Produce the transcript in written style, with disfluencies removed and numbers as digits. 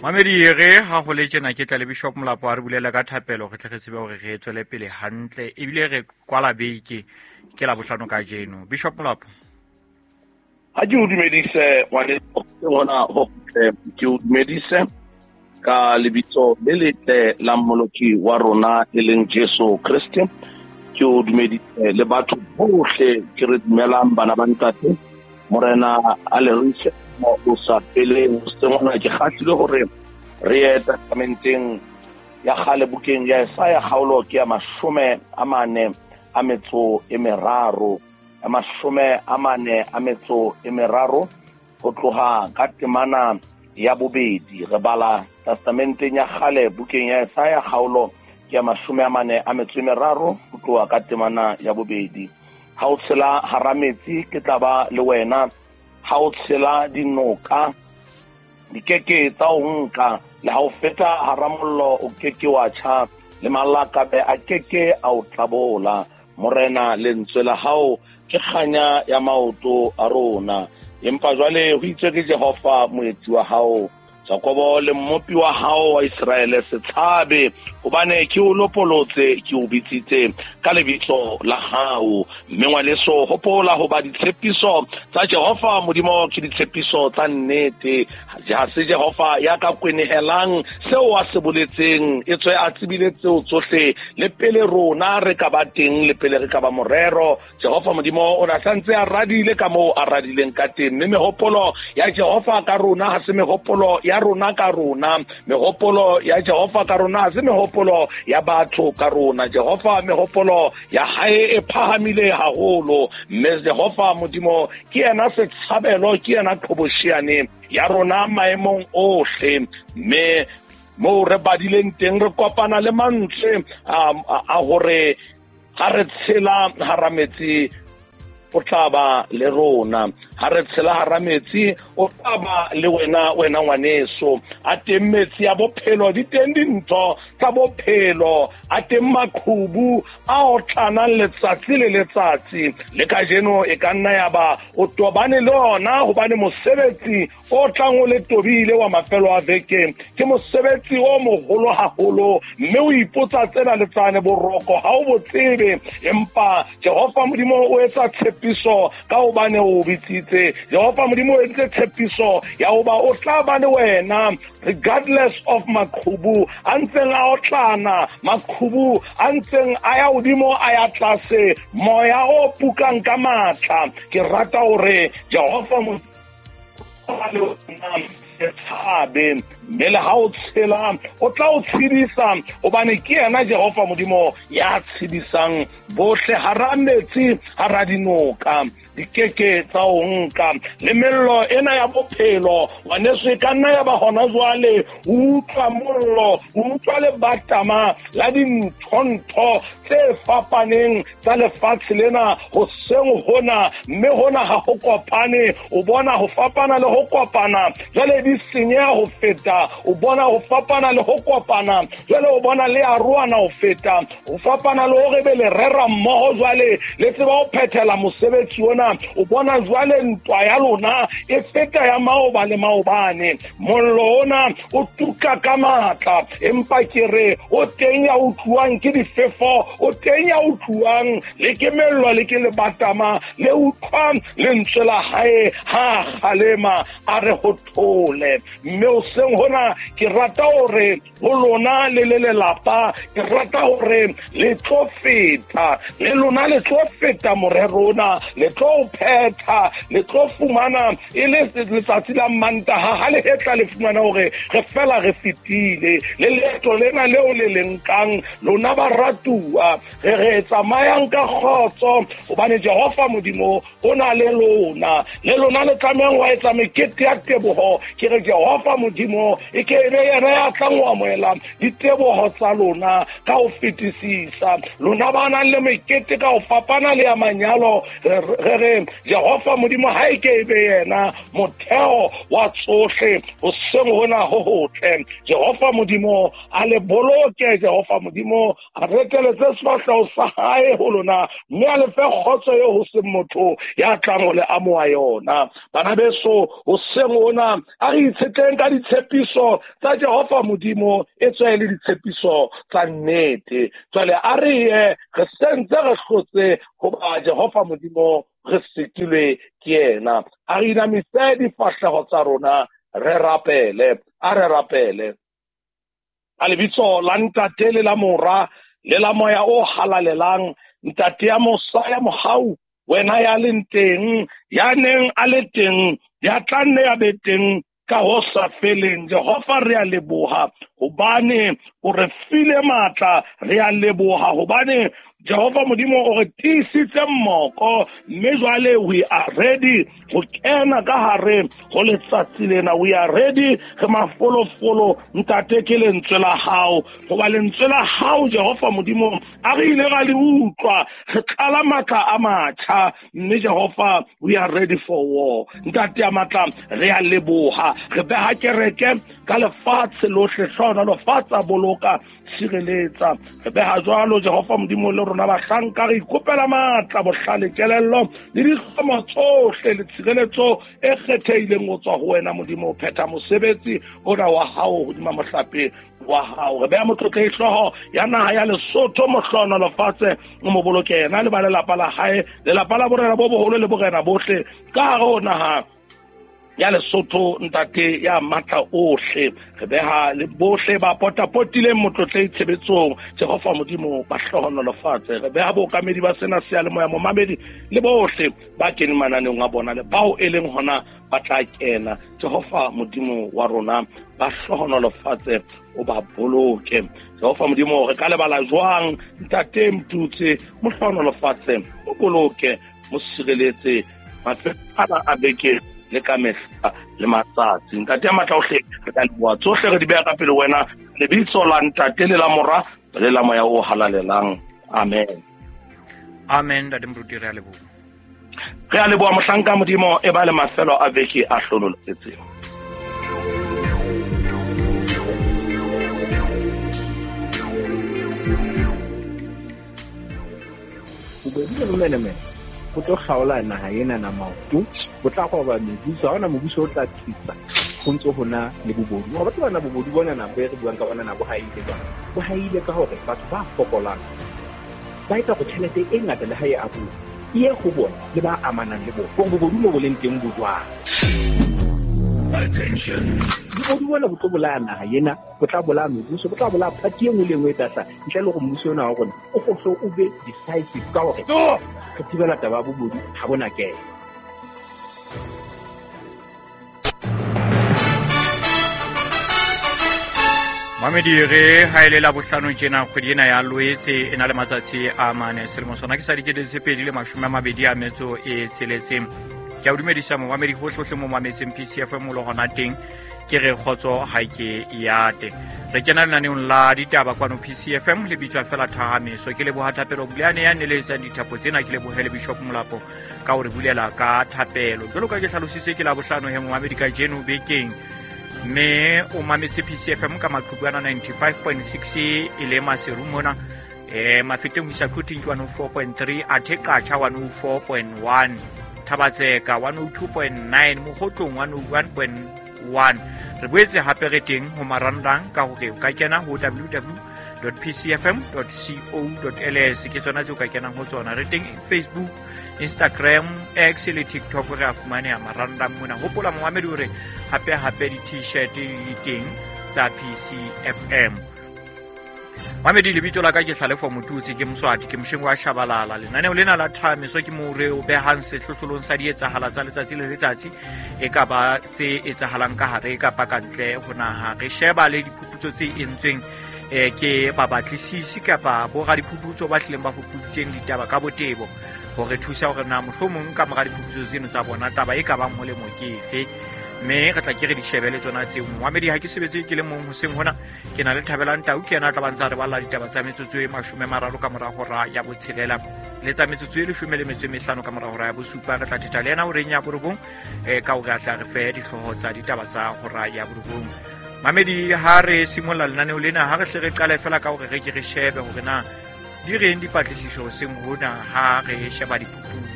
Mamedi re ha ho le tjena ke tla le Bishop Molapo a re bulela ka thapelo re tle re tsebe hore re tswele pele hantle ebile re kwala beke ke la bohlano ka jeno. Bishop Molapo, ha ke o dumedise ngwaneso hona ho ke o dumedise ka lebitso le letle la Mmoloki wa rona e leng Jesu Kriste. Ke o dumedise le batho bohle ke re dumelang bana ba ntate Morena a le rise o sa feleng. Sengwana ke kgahlile hore re ye testamenteng ya kgale bukeng ya Esaya kgaolo ke ya 43, 43 ho tloha ka temana ya bobedi. Re bala testamenteng ya kgale bukeng ya Esaya kgaolo ke ya 43 ho tloha ka temana ya bobedi. Ha o tshela hara metsi ke tla ba le wena, ha o tshela dinoka di keke tsa o nka, le ha o feta hara mollo o keke wa tjha, le malakabe a keke a o tlabola. Morena, lentswe la hao ke kganya ya maoto a rona. Empa jwale ho itswe ke Jehova moetsi wa hao, Jakobo le mmopi wa hao wa Iseraele, se tshabe, hobane ke o lopolotse, ke o bitsitse ka lebitso la hao. Mme ngwaneso, hopola hoba ditshepiso tsa Jehova Modimo ke ditshepiso tsa nnete. Ha se Jehova ya ka kwenehelang seo a se boletseng, etswe a tsebile tseo tsohle le pele rona re ka ba teng, le pele re ka ba morero. Jehova Modimo o na santse a radile ka moo a radileng ka teng. Mme mehopolo ya Jehova ka rona ha se mehopolo ya rona ka rona, mehopolo ya Jehova ka rona ha se mehopolo ya batho ka rona. Jehova mehopolo ya hae e phahamile haholo, mme Jehova Modimo ke yena setshabelo, ke yena qhobosheane ya rona maemong ohle. Mme moo re badileng teng re kopana le mantswe a hore ha re tshela hara metsi o tla ba le rona, ha re tshela hara metsi o tla ba le wena, wena ngwaneso. A teng metsi a bophelo, di teng dintho tsa bophelo, a teng maqhubu a otlanang letsatsi le letsatsi. Le kajeno e ka nna ya ba o tobane le ona, hobane mosebetsi o tlang o le tobile wa mafelo a veke ke mosebetsi o moholo haholo, mme o ipotsa tsena le tsane, boroko ha o bo tsebe. Empa Jehova Modimo o etsa tshepiso ka hobane o bitsitse. Jehova Modimo o entse tshepiso ya hoba o tla ba le wena regardless of maqhubu a ntseng a otlana, maqhubu a ntseng a ya hodimo a ya tlase, moya o pukang ka matla. Ke rata hore Jehova Modimo tshabe, mme le ha o tshela o tla o tshedisa, hobane ke yena Jehova Modimo ya tshedisang bohle hara metsi, hara dinoka di keke tsa o nka. Le mello ena ya bophelo ngwaneso e ka nna ya ba hona jwale o utlwa mollo, o utlwa lebatama la dinthontho tse fapaneng tsa lefatshe lena hoseng hona, mme hona ha ho kopane. O bona ho fapana le ho kopana, jwale di senyeha ho feta. O bona ho fapana le ho kopana, jwale o bona le arohana ho feta. Ho fapana le hore be le rera mmoho, jwale le tseba ho phethela mosebetsi ona. O bona jwale ntwa ya lona e feta ya maoba le maobane. Mollo ona o tuka ka matla, empa ke re o teng ya utluwang ke difefo, o teng ya utluwang le ke mello le ke lebatama, le utlwa lentswe la hae ha kgalema a re ho thole. Mme hoseng hona ke rata hore ho lona le le lelapa, ke rata hore le tlo feta, le lona le tlo feta morero ona, le tlo phetha, le tlo fumana e le letsatsi la Mantaha ha le hetla le fumana hore re fela re fetile le leeto lena leo le le nkang lona baratuwa. Re re tsamayang ka kgotso, hobane Jehova Modimo o na le lona, le lona le tlamehang ho etsa mekete ya teboho. Ke re Jehova Modimo e ke be yena ya tlang ho amohela diteboho tsa lona ka ho fetisisa. Lona ba nang le mekete ka ho fapana le ya manyalo, re re Jehova Modimo ha e ke be yena motheo wa tsohle hoseng hona ho hotle. Jehova Modimo a le boloke, Jehova Modimo a reteletse sefahleho sa hae ho lona, mme a le fe kgotso eo ho seng motho ya tlang ho le amoha yona. Bana beso, hoseng hona a re itshetleng ka ditshepiso tsa Jehova Modimo, e tswe le ditshepiso tsa nnete. Jwale a re ye, re sentse re hlotse hoba Jehova Modimo re sitilwe ke yena. A re inamise difahleho tsa rona, re rapele. A re rapele. A lebitso la Ntate le la Mora le la Moya o halalelang, Ntate ya mosa ya mohau, wena ya leng teng, ya neng a le teng, ya tla nne ya be teng ka ho sa feleng. Jehova, re a leboha hobane o re file matla, re a leboha hobane Jehova Modimo o re tiisitse mmoko, mme jwale we are ready ho kena ka hare ho letsatsi lena. We are ready, re mafolofolo. Ntate, ke lentswe la hao, hoba lentswe la hao Jehova Modimo a re ile ra le utlwa, re tlala matla a matjha, mme Jehova we are ready for war. Ntate ya matla, re a leboha, re beha kereke ka lefatshe lohle, hlohonolofatsa, boloka, tshireletsa. Re beha jwalo Jehova Modimo le rona bahlanka, re ikopela matla, bohlale, kelello le dihlomo tsohle le tshireletso e kgethehileng ho tswa ho wena Modimo, phetha mosebetsi ona wa hao hodima mohlape wa hao. Re beha motlotlehi hlooho ya naha ya Lesotho, mohlohonolofatse, o mo boloke yena le ba lelapa la hae, lelapa la borena bo boholo le borena bohle ka hare ho naha ya Lesotho. Ntate ya matla ohle, re beha le bohle ba potapotileng motlotlehi tshebetsong, Jehova Modimo ba hlohonolofatse. Re beha bookamedi ba sena seyalemoya, momamedi le bohle ba keneng mananeong a bona le bao e leng hona ba tla kena. Jehova Modimo wa rona ba hlohonolofatse, o ba boloke. Jehova Modimo, re ka lebala jwang Ntate Mtutse, mo hlohonolofatse, o boloke, mo sireletse mafelo ana a beke le ka mehla le matsatsi. Ntate ya matla ohle, re ka leboha tsohle, re di beha ka pele wena, lebitso la Ntate le la Mora le la Moya o halalelang. Amen. Amen. Ntate Moruti, re a leboha. Re a leboha mohlanka Modimo, e ba le mafelo a beke a hlonolofetseng. Bobodu le bomenemene bo tlo kgaola naha ena na maoto, bo tla roba mebuso, ha hona mobuso o tla tsitsa ho ntso hona le bobodu. Wa batho bana bobodu bona na bo re buang ka bona na bo haile jwang? Bo haile ka hore batho ba fokolang ba etsa hore tjhelete e ngata le ha e abuwa e ye ho bona le ba amanang le bona. Hore bobodu mo bo leng teng bo jwang? Bobodu bona bo tlo bolaya naha ena, bo tla bolaya mebuso, bo tla bolaya party e nngwe le e nngwe e tla hlaha, ntle le hore mmuso ona wa rona o kgohle o be decisive ka hore re thibela taba ya bobodu ha bona kena. Mamedi, re ha ile la bohlano tjena kgwedi ena ya Loetse e na le matsatsi a mane, selemo sona ke sa 2026. Ke a o dumedisa momamedi hohlehohle mo mametseng PCFM o le hona teng, ke re kgotso ha ke yate. Re kena lenaneong la ditaba kwano PCFM le bitswa fela Thahameso. Ke leboha Thapelo Buleane ya neletsang dithapo tsena, ke lebohe le Bishop Molapo ka ho re bulela ka thapelo. Jwalo ka ke hlalositse, ke la bohlano he momamedi kajeno bekeng, mme o mametse PCFM ka maqhubu ana 95.6 e le Maseru mona, Mafeteng ho isa Quthing ke 104.3, athe Qacha 104.1, Thabatseka 102.9, Mokgotlong 101.1. Re boetse hape re teng ho marangrang ka hore o ka kena ho www.pcfm.co.ls, ke tsona tseo ka kenang ho tsona. Re teng Facebook, Instagram, X le TikTok, re a fumaneha marangrang mona. Hopola momamedi hore hape hape di-t-shirt di teng tsa PCFM. Mamedi, lebitso la ka ke Hlalefo Motutsi, ke Moswati, ke mosheng wa Shabalala. Lenaneo lena la Thameso ke moo re o behang sehlohlolong sa dietsahala tsa letsatsi le letsatsi, e ka ba tse etsahalang ka hare kapa ka ntle ho naha. Re sheba le diphuputso tse entsweng ke babatlisisi kapa boradiphuputso ba hlileng ba fupuditseng ditaba ka botebo, ho re thusa hore na mohlomong ka mora diphuputso tseno tsa bona taba e ka bang molemo ke efe. Mme re tla ke re di shebe le tsona tseo. Moamedi, ha ke sebetse ke le mong hoseng hona, ke na le Thabelang Tau, ke yena a tla ba ntsa re balla ditaba tsa metsotso e 30 ka mora hora ya 6 le tsa metsotso e 15 ka mora hora ya 7. Re tla thetha le yena horeng ya 9 ka hore a tla re fe dihlooho tsa ditaba tsa hora ya 9. Mamedi, ha re simolla lenaneo lena, ha re hle re qale fela ka hore re ke re shebe hore na di reng dipatlisiso hoseng hona ha re sheba diphuputso.